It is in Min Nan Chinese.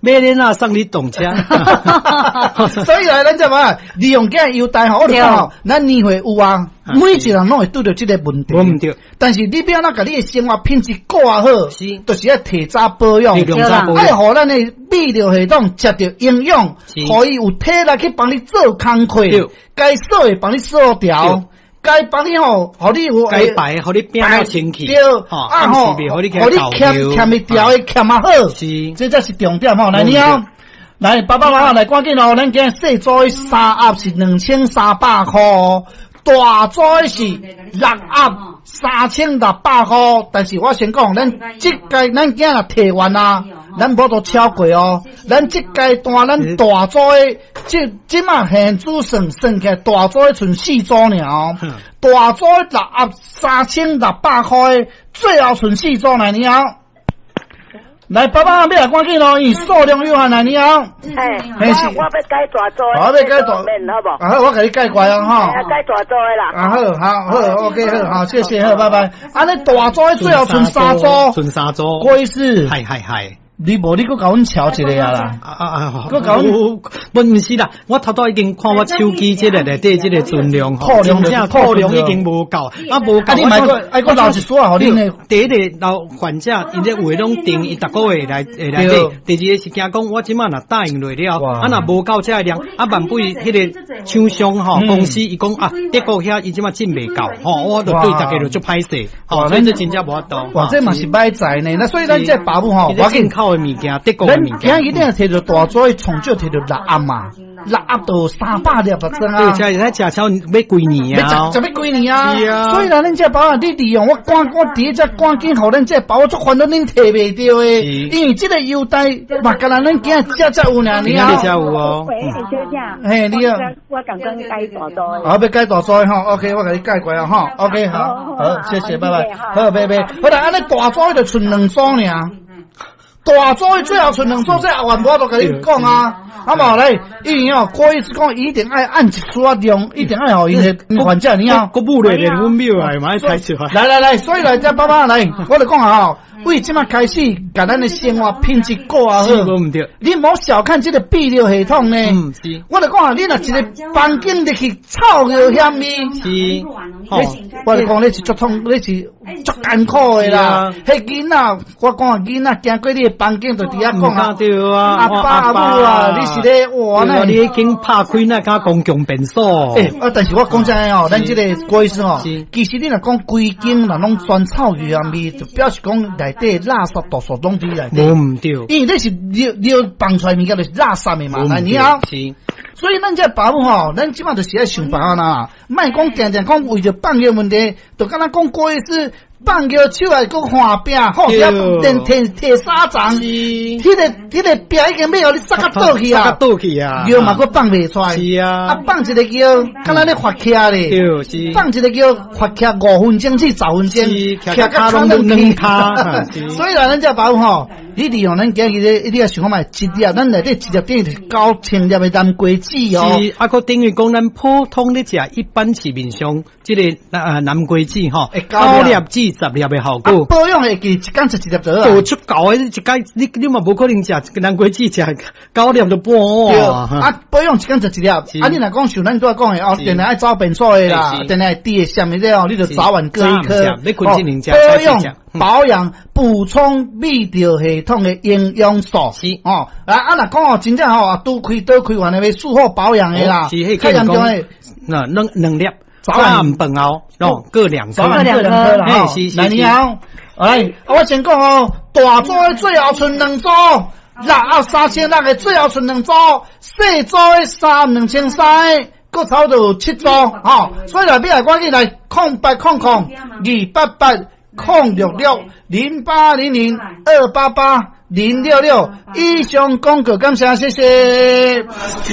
買恁仔送你動車。所以來咱這嘛，利用這優待吼，我就講吼，咱年會有啊，每一人攏會拄著這個問題。無毋對。但是你欲按怎共你的生活品質顧啊好，就是愛提早保養，提早保養。愛予咱的泌尿系統食著營養，予伊有體力去幫你做工課，該掃的幫你掃掉，該幫你吼，予你有該排，予你變到清氣，對，啊吼，予你儉儉會調的儉啊好，這才是重點吼。來你好，來爸爸媽媽來趕緊哦，咱今日細組的三盒是2300箍，大組的是六盒3600箍。但是我先講，咱這階咱今日提完啊，咱無都超過哦。咱這階段咱大組的，這這馬現主算算起來，大組的賰四組爾哦。大組的六盒3600箍的，最後賰四組來你好。來，爸爸，欲來趕緊哦，因為數量有限，來你好。嘿，我欲改大組的，我欲改大，好無？啊好，我共你改過來哦，吼。改大組的啦。啊好，好好，OK 好，好，謝謝，好，拜拜。按呢大組的最後賰三組，賰三組。郭醫師，係係係。你無你閣共阮敲一个啊啦？啊啊啊！閣共阮，無毋是啦，我頭拄已經看我手機這个內底這个存量吼，庫量庫量已經無夠，啊無夠。你莫閣愛閣留一絲啊，予恁的。第一個老患者，𪜶這話攏定，伊逐個月來會來買。第二個是驚講，我這馬若答應落了，啊若無夠這个量，啊萬不彼個廠商吼公司伊講啊，德國遐伊這馬進袂夠吼，我就對大家就足歹勢，吼，所以這真正無法度。哇，這嘛是歹在呢。那所以咱這爸母吼，我緊。口的物件，德國的物件。咱今日摕著大組的，上少摕著六盒嘛，六盒就300粒就算啊。對，這會使食超欲幾年啊？食欲幾年啊？所以啦，恁這爸母，你利用我趕我佇這趕緊，予恁這爸母足煩惱，恁摕袂著的，因為這個優待嘛，干焦恁囝這才有爾，你好。這有哦。喂，小姐。嘿，你好。我剛剛改大組。好，欲改大組的吼，OK，我共你改過來吼，OK，好，好，謝謝，拜拜，好，拜拜。好啦，按呢大組就賰兩組爾。大組最後賰兩組，這後面無都共你講啊，好無來，因為哦，郭醫師講，一定愛按一絲仔量，一定愛予𪜶的患者，你啊，閣母咧連阮廟來嘛愛猜出來。來來來，所以來這爸爸來，我就講啊，為這馬開始，共咱的生活品質顧啊好。無毋對。你莫小看這個泌尿系統呢。嗯，是。我就講啊，你若一个房間入去臭尿嫌味，是。我就講你是足痛，你是足艱苦的啦。彼囡仔，我講啊，囡仔經過你的房間就佇遐講啊，對啊，阿爸阿母啊，你是咧哇，那你已經拍開那間公共便所。欸，啊，但是我講真的哦，咱這个郭醫生哦，其實你若講規間若攏全臭尿味，就表示講內底垃圾毒素攏佇內底。無毋對。因為你是尿尿放出來物件就是垃圾的嘛，來你好。是。所以咱這爸母吼，咱這馬就是愛想辦法啦，莫講定定講為著放尿問題，就敢若講郭醫師放尿手來閣換壁，吼，連提提沙層，彼个壁已經欲予你塞甲倒去啊，倒去啊，尿嘛閣放袂出來。是啊，啊放一个尿，敢若咧發徛咧，對，是。放一个尿發徛5分鐘至10分鐘，徛甲腳攏軟跤。所以啦，咱這爸母吼，你利用咱今日咧，你也想看覓，一粒咱內底一粒等於9000粒的南瓜子哦。是，啊，閣等於講咱普通咧食一般市面上這個啊南瓜子吼，九粒至十粒的效果。保養會記一工食一粒就好。做足夠的，一工你你嘛無可能食南瓜子食九粒就半碗。對，啊，保養一工食一粒，啊，你若講像咱拄仔講的哦，定定愛走便所的啦，定定會滴的啥物的哦，你就早晚各一顆。你困前食，保養保養補充泌尿系統的營養素。是哦，啊啊，若講哦，真正吼，拄開倒開完的欲術後保養的啦，較嚴重的，那兩兩粒，早晚飯後，哦，各兩顆，早晚各兩顆啦。嘿，是是。來你好，來，我先講哦，大組的最後賰兩組，六盒3600的最後賰兩組，細組的三2300的，閣差不多有七組，吼，所以來欲來趕緊來0800 0288066 0800288066。以上廣告，感謝，謝謝。